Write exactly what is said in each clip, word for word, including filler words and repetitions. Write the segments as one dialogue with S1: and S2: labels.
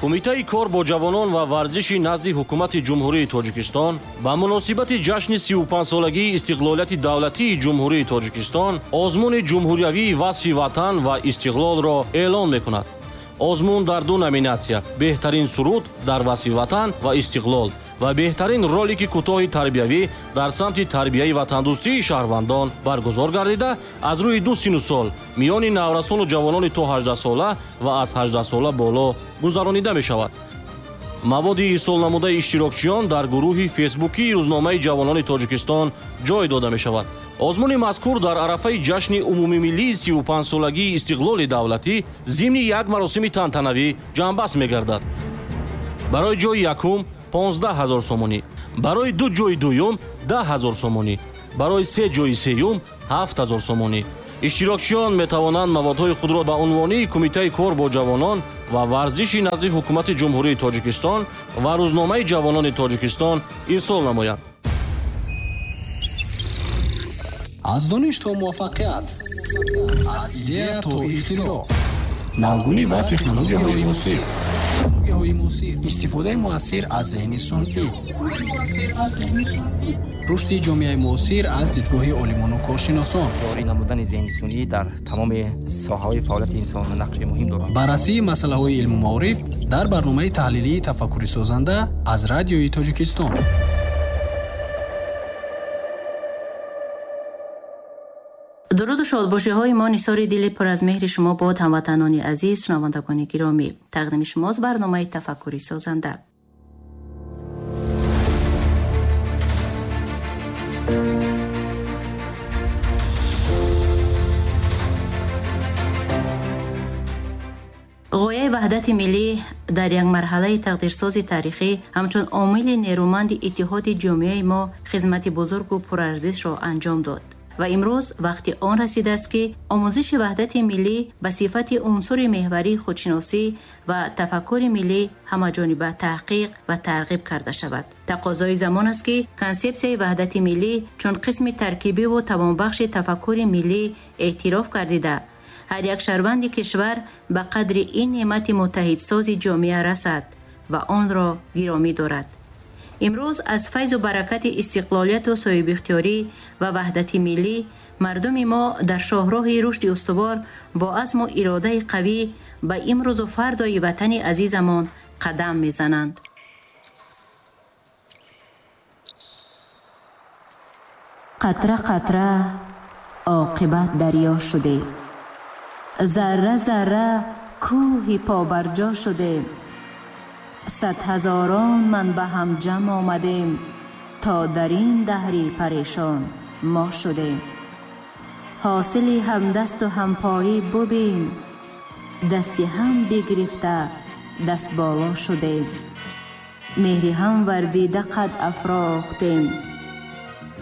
S1: Кумитаи кор бо ҷавонон ва варзиши назди ҳукумати Ҷумҳурии Тоҷикистон ба муносибати ҷашни сию панҷсолагии истиқлолияти давлатии Ҷумҳурии Тоҷикистон озмуни ҷумҳуриявии васфи ватан ва истиқлолро эълон мекунад. Озмун дар ду номинатсия: беҳтарин суруд дар васфи ватан ва истиқлол ва беҳтарин ролики кӯтоҳи тарбиявӣ дар самти тарбияи ватандӯстии шаҳрвандон баргузор гардида, аз рӯи ду сину сол миёни наврасону ҷавонони то ҳаждаҳсола ва аз ҳаждаҳсола боло гузаронида мешавад. Маводи ирсолнамудаи иштирокчиён дар гурӯҳи фейсбукии рӯзномаи ҷавонони Тоҷикистон ҷой дода мешавад. Озмуни мазкур дар арафаи ҷашни умумимиллии сию панҷсолагии истиқлоли давлатӣ зимни як маросими тантанавӣ ҷамъбаст мегардад. Барои ҷои якум понздаҳ ҳазор сомонӣ, барои ду ҷои дуюм даҳ ҳазор сомонӣ, барои се ҷои сеюм ҳафт ҳазор сомонӣ. Иштирокчиён метавонанд маводҳои худро ба унвони Кумитаи кор бо ҷавонон ва варзиши назди ҳукумати Ҷумҳурии Тоҷикистон ва рӯзномаи ҷавонони Тоҷикистон ирсол намоянд.
S2: Аз дониш то муваффақият, аз идея то ихтироъ,
S3: навгунӣ ва технологияҳои муосир,
S2: истифодаи муассир аз зеҳни сунъӣ, рушди ҷомеаи муосир аз дидгоҳи олимону коршиносон,
S4: ҷорӣ намудани зеҳни сунъӣ дар тамоми соҳаҳои фаъолияти инсон нақши муҳим дорад.
S2: Баррасии масъалаҳои илму маориф дар барномаи таҳлилии тафаккури созанда аз Радиои Тоҷикистон.
S5: Дуруду шодбошиҳои мо нисори дили пур аз меҳри шумо бод, ҳамватанони азиз, шунавандагони гиромӣ. Тақдими шумост барномаи тафаккури созанда. Ғояи ваҳдати миллӣ дар як марҳалаи тақдирсози таърихӣ ҳамчун омили нерӯманди иттиҳоди ҷомеаи мо хизмати бузургу пурарзишро анҷом дод. Ва имрӯз вақти он расидааст, ки омӯзиши ваҳдати миллӣ ба сифати унсури меҳварии худшиносӣ ва тафаккури миллӣ ҳамаҷониба таҳқиқ ва тарғиб карда шавад. Тақозои замон аст, ки консепсияи ваҳдати миллӣ чун қисми таркибиву тавонбахши тафаккури миллӣ эътироф гардида, ҳар як шаҳрванди кишвар ба қадри ин неъмати муттаҳидсози ҷомеа расад ва онро гиромӣ дорад. Имрӯз аз файзу баракати истиқлолияту соҳибихтиёрӣ ва ваҳдати миллӣ мардуми мо дар шоҳроҳи рушди устувор бо азму иродаи қавӣ ба имрӯзу фардои ватани азизамон қадам мезананд. Қатра қатра оқибат дарё шудем, зарра зарра кӯҳи побарҷо шудем, сад ҳазорон ман ба ҳам ҷамъ омадем, то дар ин даҳри парешон мо шудем. Ҳосили ҳамдасту ҳампоӣ бубин, дасти ҳам бигирифта даст боло шудем, меҳри ҳам варзида қад афрохтем,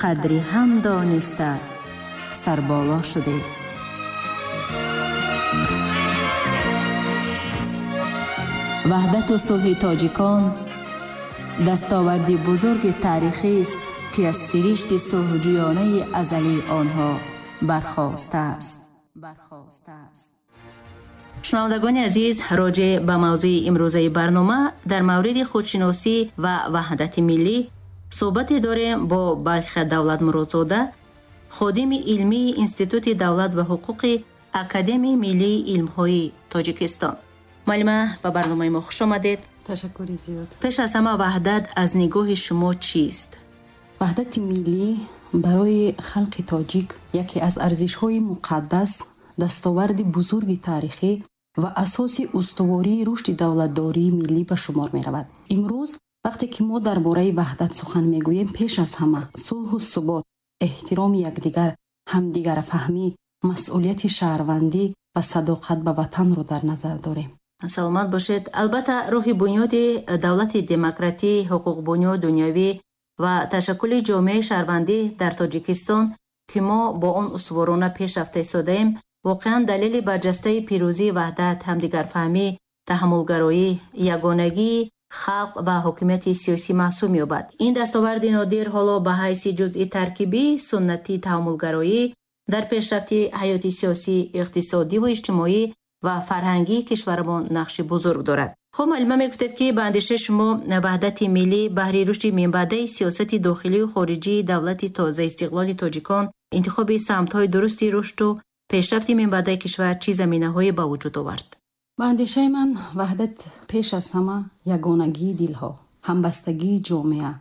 S5: қадри ҳам дониста сарболо шудем. Ваҳдату сулҳи тоҷикон дастоварди бузурги таърихист, ки аз сиришти сулҳҷӯёнаи азалии онҳо бархостааст. Шунавандагони азиз, роҷеъ ба мавзӯи имрӯзаи барнома дар мавриди худшиносӣ ва ваҳдати миллӣ суҳбате дорем бо Балхия Давлатмуродзода, ходими илмии Институти давлат ва ҳуқуқи Академияи миллии илмҳои Тоҷикистон. Муаллима, ба барномаи мо хуш омадед.
S6: Ташаккури зиёд.
S5: Пеш аз ҳама, ваҳдат аз нигоҳи шумо чист?
S6: Ваҳдати миллӣ барои халқи тоҷик яке аз арзишҳои муқаддас, дастоварди бузурги таърихӣ ва асоси устувории рушди давлатдории миллӣ ба шумор меравад. Имрӯз вақте ки мо дар бораи ваҳдат сухан мегӯем, пеш аз ҳама сулҳу субот, эҳтироми якдигар, ҳамдигарфаҳмӣ, масъулияти шаҳрвандӣ ва садоқат ба ватанро дар назар дорем.
S5: Саломат бошед. Албатта, рӯҳи бунёди давлати демократӣ, ҳуқуқбунёд дунявӣ ва ташаккули ҷомеаи шаҳрвандӣ дар Тоҷикистон, ки мо бо он устуворона пеш рафта истодаем, воқеан далели барҷастаи пирӯзии ваҳдат, ҳамдигарфаҳмӣ, таҳаммулгароӣ, ягонагии халқ ва ҳокимияти сиёсӣ маҳсуб меёбад. Ин дастоварди нодир ҳоло ба ҳайси ҷузъи таркибии суннати таҳаммулгароӣ дар пешрафти ҳаёти сиёсӣ, иқтисодиву иҷтимоӣ ва фарҳангии кишварамон нақши бузург дорад. Хуб, муаллима, мегуфтед, ки ба андешаи шумо ваҳдати миллӣ баҳри рушди минбаъдаи сиёсати дохилию хориҷии давлати тозаистиқлоли тоҷикон, интихоби самтҳои дурусти рушду пешрафти минбаъдаи кишвар чӣ заминаҳое ба вуҷуд овард?
S6: Ба андешаи ман, ваҳдат пеш аз ҳама ягонагии дилҳо, ҳамбастагии ҷомеа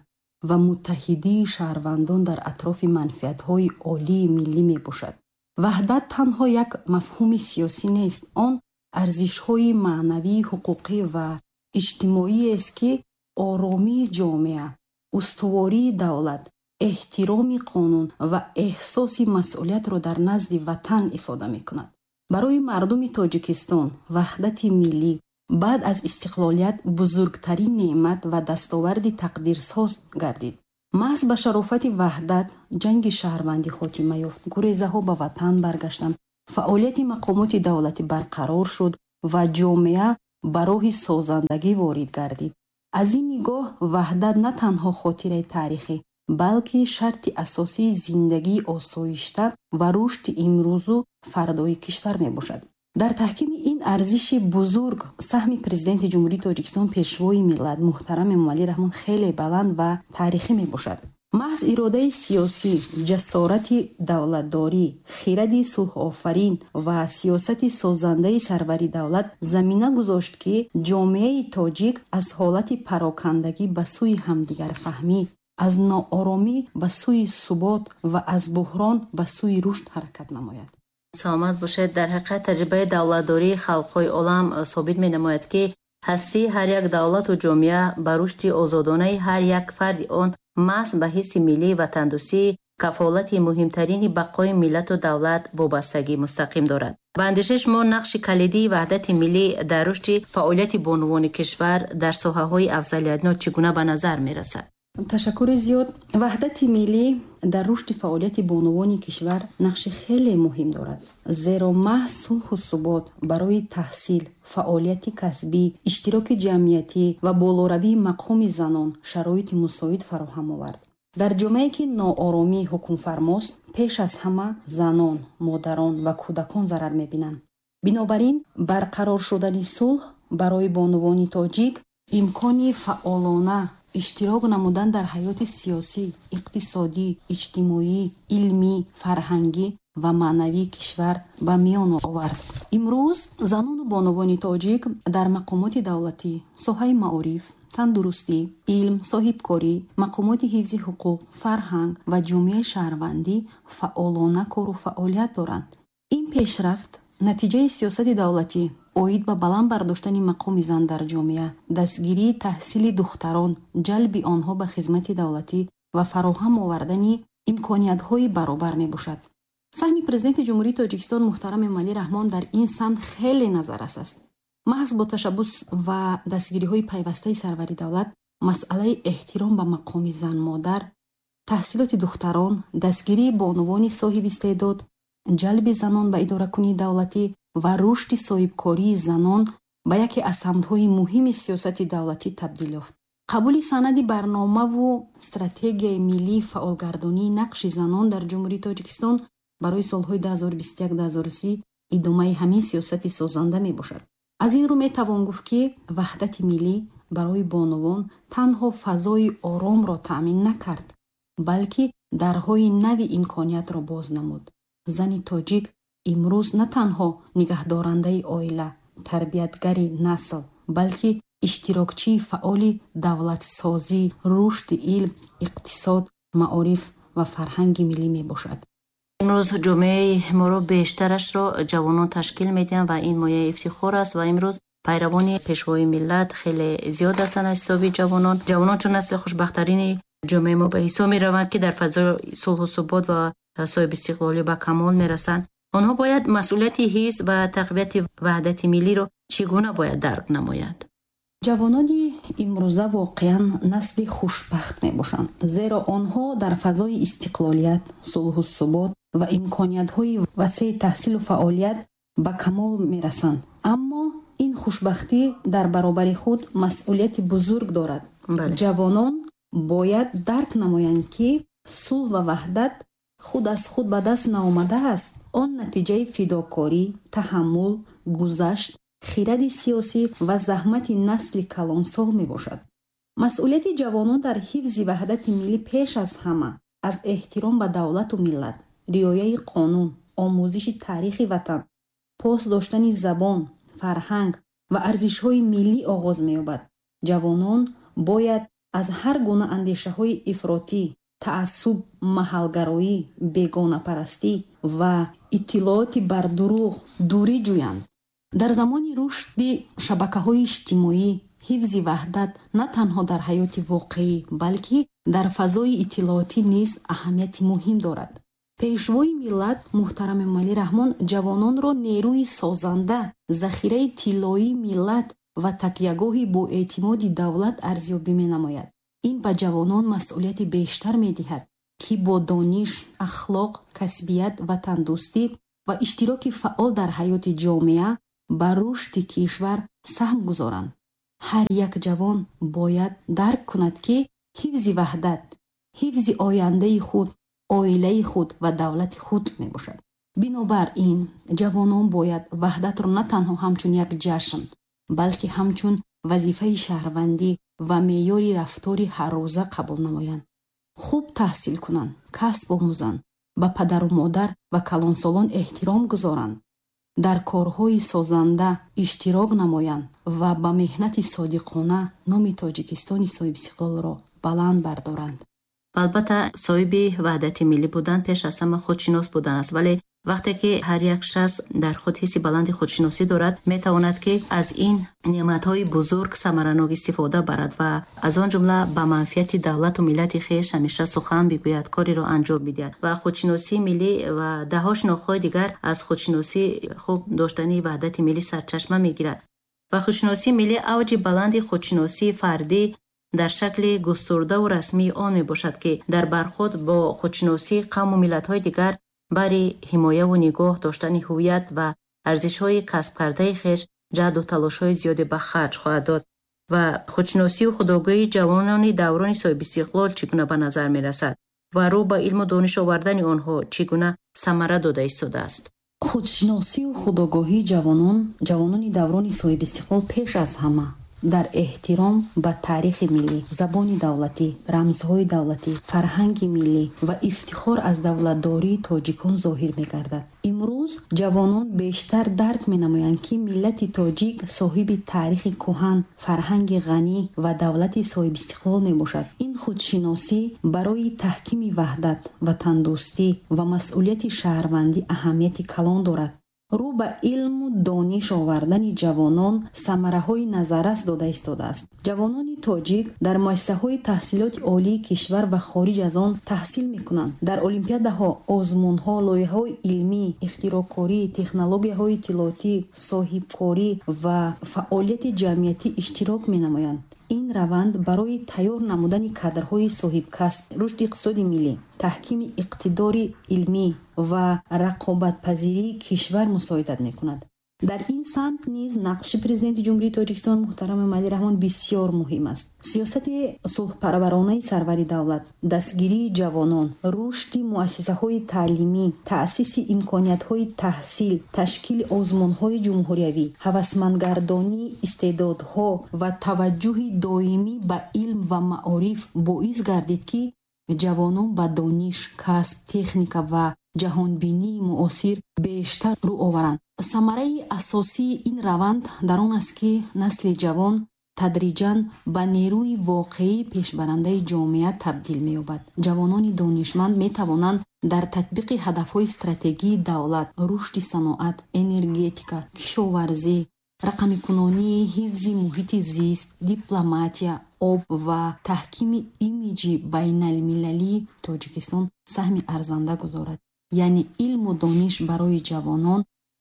S6: ва муттаҳидии шаҳрвандон дар атрофи манфиатҳои олии миллӣ мебошад. Ваҳдат танҳо як мафҳуми сиёсӣ нест, он арзишҳои маънавӣ, ҳуқуқӣ ва иҷтимоиест, ки оромии ҷомеа, устувории давлат, эҳтироми қонун ва эҳсоси масъулиятро дар назди ватан ифода мекунад. Барои мардуми Тоҷикистон ваҳдати миллӣ баъд аз истиқлолият бузургтарин неъмат ва дастоварди тақдирсоз гардид. Маҳз ба шарофати ваҳдат ҷанги шаҳрвандӣ хотима ёфт, гурезаҳо ба ватан баргаштанд, фаъолияти мақомоти давлатӣ барқарор шуд ва ҷомеа ба роҳи созандагӣ ворид гардид. Аз ин нигоҳ ваҳдат на танҳо хотираи таърихӣ, балки шарти асосии зиндагии осоишта ва рушди имрӯзу фардои кишвар мебошад. Дар таҳкими ин арзиши бузург саҳми Президенти Ҷумҳурии Тоҷикистон, Пешвои миллат муҳтарам Эмомалӣ Раҳмон хеле баланд ва таърихӣ мебошад. Маҳз иродаи сиёсӣ, ҷасорати давлатдорӣ, хиради сулҳофарин ва сиёсати созандаи сарвари давлат замина гузошт, ки ҷомеаи тоҷик аз ҳолати парокандагӣ ба сӯи ҳамдигарфаҳмӣ, аз нооромӣ ба сӯи субот ва аз буҳрон ба сӯи рушд ҳаракат намояд.
S5: Саломат бошед. Дар ҳақиқат, таҷрибаи давлатдории халқҳои олам собит менамояд, ки ҳастии ҳар як давлату ҷомеа ба рушди озодонаи ҳар як фарди он маҳз ба ҳисси миллии ватандӯстӣ, кафолати муҳимтарини бақои миллату давлат, вобастагӣ мустақим дорад. Ба андешаи шумо, нақши калидии ваҳдати миллӣ дар рушди фаъолияти бонувони кишвар дар соҳаҳои афзалиятнок чӣ гуна ба назар мерасад?
S6: Ташаккури зиёд. Ваҳдати миллӣ дар рушди фаъолияти бонувони кишвар нақши хеле муҳим дорад, зеро маҳз сулҳу субот барои таҳсил, фаъолияти касбӣ, иштироки ҷамъиятӣ ва болоравии мақоми занон шароити мусоид фароҳам овард. Дар ҷомеае, ки нооромӣ ҳукмфармост, пеш аз ҳама занон, модарон ва кӯдакон зарар мебинанд. Бинобар ин барқарор шудани сулҳ барои бонувони тоҷик имкони фаъолона иштирок намудан дар ҳаёти сиёсӣ, иқтисодӣ, иҷтимоӣ, илмӣ, фарҳангӣ ва маънавии кишвар ба миён овард. Имрӯз занону бонувони тоҷик дар мақомоти давлатӣ, соҳаи маориф, тандурустӣ, илм, соҳибкорӣ, мақомоти ҳифзи ҳуқуқ, фарҳанг ва ҷомеаи шаҳрвандӣ фаъолона кору фаъолият доранд. Ин пешрафт натиҷаи сиёсати давлатӣ оид ба баланд бардоштани мақоми зан дар ҷомеа, дастгирии таҳсили духтарон, ҷалби онҳо ба хизмати давлатӣ ва фароҳам овардани имкониятҳои баробар мебошад. Саҳми Президенти Ҷумҳурии Тоҷикистон муҳтарам Эмомалӣ Раҳмон дар ин самт хеле назаррас аст. Маҳз бо ташаббус ва дастгириҳои пайвастаи сарвари давлат масъалаи эҳтиром ба мақоми зан-модар, таҳсилоти духтарон, дастгирии бонувони соҳиби истеъдод, ҷалби занон ба идоракунии давлатӣ ва рушди соҳибкории занон ба яке аз самтҳои муҳими сиёсати давлатӣ табдил ёфт. Қабули санади барномаву стратегияи миллии фаъолгардонии нақши занон дар Ҷумҳурии Тоҷикистон барои солҳои ду ҳазору бисту як-ду ҳазору си идомаи ҳамин сиёсати созанда мебошад. Аз ин рӯ метавон гуфт, ки ваҳдати миллӣ барои бонувон танҳо фазои оромро таъмин накард, балки дарҳои нави имкониятро боз намуд. Зани тоҷик имрӯз на танҳо нигаҳдорандаи оила, тарбиятгари насл, балки иштирокчии фаъоли давлатсозӣ, рушди илм, иқтисод, маориф ва фарҳанги миллӣ мебошад.
S5: Имрӯз ҷомеаи моро бештарашро ҷавонон ташкил медиҳанд ва ин мояи ифтихор аст. Ва имрӯз пайравони Пешвои миллат хеле зиёд ҳастанд аз ҳисоби ҷавонон. Ҷавонон чун насли хушбахттарини ҷомеаи мо ба ҳисоб мераванд, ки дар фазои сулҳу субот ва соҳибистиқлолӣ ба камол мерасанд, онҳо бояд масъулияти ҳифз ва тақвияти ваҳдати миллиро чӣ гуна бояд дарк намоянд?
S6: Ҷавонони имрӯза воқеан насли хушбахт мебошанд, зеро онҳо дар фазои истиқлолият, сулҳу субот ва имкониятҳои васеи таҳсилу фаъолият ба камол мерасанд. Аммо ин хушбахтӣ дар баробари худ масъулияти бузург дорад. Ҷавонон бояд дарк намоянд, ки сулҳ ва ваҳдат худ аз худ ба даст наомадааст. Он натиҷаи фидокорӣ, таҳаммул, гузашт хиради сиёсӣ ва заҳмати насли калонсол мебошад. Масъулияти ҷавонон дар ҳифзи ваҳдати миллӣ пеш аз ҳама аз эҳтиром ба давлату миллат, риояи қонун, омӯзиши таърихи ватан, пос доштани забон, фарҳанг ва арзишҳои миллӣ оғоз меёбад. Ҷавонон бояд аз ҳар гуна андешаҳои ифротӣ, таассуб, маҳалгароӣ, бегонапарастӣ ва иттилооти бардурӯғ дурӣ ҷӯянд. Дар замони рушди шабакаҳои иҷтимоӣ ҳифзи ваҳдат на танҳо дар ҳаёти воқеӣ, балки дар фазои иттилоотӣ низ аҳамияти муҳим дорад. Пешвои миллат муҳтарам Эмомалӣ Раҳмон ҷавононро нерӯи созанда, захираи тиллоии миллат ва такягоҳи боэътимоди давлат арзёбӣ менамояд. Ин ба ҷавонон масъулияти бештар медиҳад, ки бо дониш, ахлоқ, касбият, ватандӯстӣ ва иштироки фаъол дар ҳаёти ҷомеа ба рушди кишвар саҳм гузоранд. Ҳар як ҷавон бояд дарк кунад, ки ҳифзи ваҳдат, ҳифзи ояндаи худ, оилаи худ ва давлати худ мебошад. Бинобар ин, ҷавонон бояд ваҳдатро на танҳо ҳамчун як ҷашн, балки ҳамчун вазифаи шаҳрвандӣ ва меъёри рафтори ҳаррӯза қабул намоянд. Хуб таҳсил кунанд, касб омӯзанд, ба падару модар ва калонсолон эҳтиром гузоранд, дар корҳои созанда иштирок намоянд ва ба меҳнати содиқона номи Тоҷикистони соҳибистиқлолро баланд бардоранд.
S5: Албатта, соҳиби ваҳдати миллӣ будан пеш аз ҳама худшинос будан аст, вале вақте ки ҳар як шахс дар худ ҳисси баланди худшиносӣ дорад, метавонад ки аз ин неъматҳои бузург самаранок истифода барад ва аз он ҷумла ба манфиати давлату миллати хеш ҳамеша сухан бигӯяд, кореро анҷом бидиҳад. Ва худшиносии миллӣ ва даҳҳо шинохтҳои дигар аз худшиносӣ хуб доштани ваҳдати миллӣ сарчашма мегирад. Ва худшиносии миллӣ авҷи баланди худшиносии фардӣ дар шакли густурдаву расмии он мебошад, ки дар бархӯрд бо худшиносии қавму миллатҳои дигар барои ҳимояву нигоҳ доштани ҳуввият ва арзишҳои касбкардаи хеш ҷаҳду талошҳои зиёде ба харҷ хоҳад дод. Ва худшиносию худогоҳии ҷавонони даврони соҳибистиқлол чӣ гуна ба назар мерасад ва рӯ ба илму дониш овардани онҳо чӣ гуна самара дода истодааст?
S6: Худшиносию худогоҳии ҷавонон, ҷавонони даврони соҳибистиқлол пеш аз ҳама дар эҳтиром ба таърихи миллӣ, забони давлатӣ, рамзҳои давлатӣ, фарҳанги миллӣ ва ифтихор аз давлатдории тоҷикон зоҳир мегардад. Имрӯз ҷавонон бештар дарк менамоянд, ки миллати тоҷик соҳиби таърихи кӯҳан, фарҳанги ғанӣ ва давлати соҳибистиқлол мебошад. Ин худшиносӣ барои таҳкими ваҳдат, ватандӯстӣ ва масъулияти шаҳрвандӣ аҳамияти калон дорад. Рӯ ба илму дониш овардани ҷавонон самараҳои назаррас дода истодааст. Ҷавонони тоҷик дар муассисаҳои таҳсилоти олии кишвар ва хориҷ аз он таҳсил мекунанд. Дар олимпиадаҳо, озмунҳо, лоиҳаҳои илмӣ, ихтироъкорӣ, технологияҳои иттилоотӣ, соҳибкорӣ ва фаъолияти ҷамъиятӣ иштирок менамоянд. Ин раванд барои тайёр намудани кадрҳои соҳибкасб, рушди иқтисоди миллӣ, таҳкими иқтидори илмӣ ва рақобатпазирии кишвар мусоидат мекунад. Дар ин самт низ нақши Президенти Ҷумҳурии Тоҷикистон муҳтарам Эмомалӣ Раҳмон бисёр муҳим аст. Сиёсати сулҳпарваронаи сарвари давлат, дастгирии ҷавонон, рушди муассисаҳои таълимӣ, таъсиси имкониятҳои таҳсил, ташкили озмунҳои ҷумҳуриявӣ, ҳавасмандгардонии истеъдодҳо ва таваҷҷӯҳи доимӣ ба илм ва маориф боис гардид, ки ҷавонон ба дониш, касб, техника ва ҷаҳонбинии муосир бештар рӯ оваранд. Самараи асосии ин раванд дар он аст, ки насли ҷавон тадриҷан ба нерӯи воқеии пешбарандаи ҷомеа табдил меёбад. Ҷавонони донишманд метавонанд дар татбиқи ҳадафҳои стратегии давлат, рушди саноат, энергетика, кишоварзӣ, рақамикунонии ҳифзи муҳити зист, дипломатия, об ва таҳкими имиҷи байналмилалии Тоҷикистон саҳми арзанда гузорад. Яъне илму дониш барои ҷавонон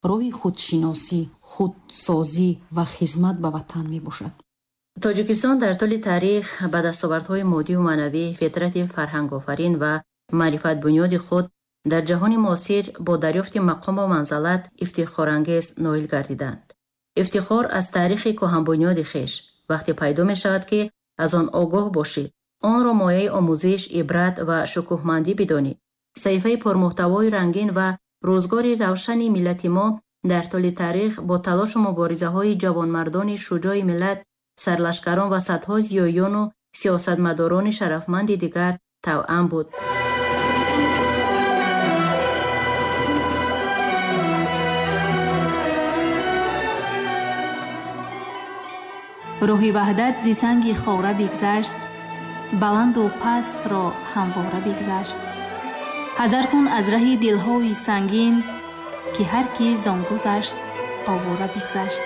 S6: роҳи худшиносӣ, худсозӣ ва хизмат ба ватан мебошад.
S5: Тоҷикистон дар тӯли таърих ба дастовардҳои моддиву маънавӣ, фитрати фарҳангофарин ва маърифатбунёди худ дар ҷаҳони муосир бо дарёфти мақому манзалат ифтихорангез ноил гардиданд. Ифтихор аз таърихи кӯҳанбунёди хеш вақте пайдо мешавад, ки аз он огоҳ бошӣ, онро мояи омӯзиш, ибрат ва шукӯҳмандӣ бидонӣ. Саҳифаи пурмуҳтавои рангин ва рӯзгори равшани миллати мо Дар тӯли таърих бо талошу муборизаҳои ҷавонмардони шуҷои миллат, сарлашкарон ва садҳо зиёиёну сиёсатмадорони шарафманди дигар тавъам буд.
S7: Роҳи ваҳдат зи санги хора бигзашт, баланду пастро ҳамвора бигзашт. Ҳазар кун аз раҳи дилҳои сангин, ки ҳар ки зон гузашт, овора бигзашт.